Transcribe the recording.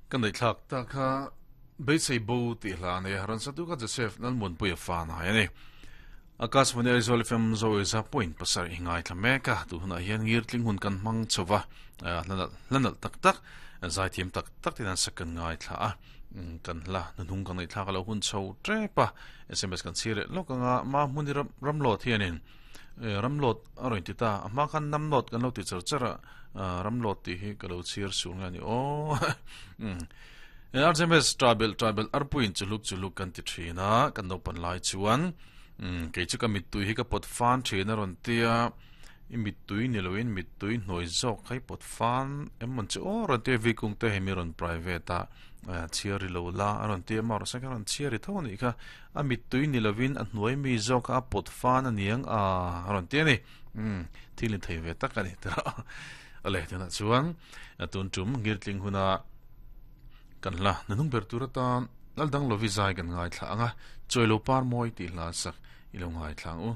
Ka ngaihthlak tak kha Beisei Bo tih hla a nei a, rawn satu kha Joseph Lalmuanpuia fa nai a ni. Akashvani Aizawl FM Zoeza point pasarih i ngaithla mek a, tun hunah hian ngirtling hun kan hmang chho va, hla nalh tak tak, zaithiam tak tak ten an sak kan ngaithla a, kan hla hnuhnung kan ngaihthlak a lo hun chho tep a, sms kan chhir leh lawk anga Mahmuni Ramlawt hianin Ramlawt a rawn ti ta, a hma khan Namlawt kan lo ti char char a, Ramlawt tih hi ka lo chhir sur nge a ni aw. RJMS Tribal Tribal arpuiin chuluk chuluk kan ti thin a, kan naupan lai chuan kei chu ka mittui hi ka pawt fan thin a rawn ti a, i mittui ni loin mittui hnuai zawk kha i pawt fan em mawn chu aw rawn ti a, Vikung te hemi rawn private a chhiar ri lo la a rawn ti a, mahse kha rawn chhiar ri tho a nih kha, a mittui ni loin a hnuai mi zawk kha a pawt fan a niang a rawn ti a ni. Umm thil in thei ve tak a ni tawh ale tunah chuan tun tum ngirtling huna kan hla nanung ber tur atan lal dang lovi zai kan ngaithla anga chawilo par mawi tih hla sak ilo ngaithla ang u.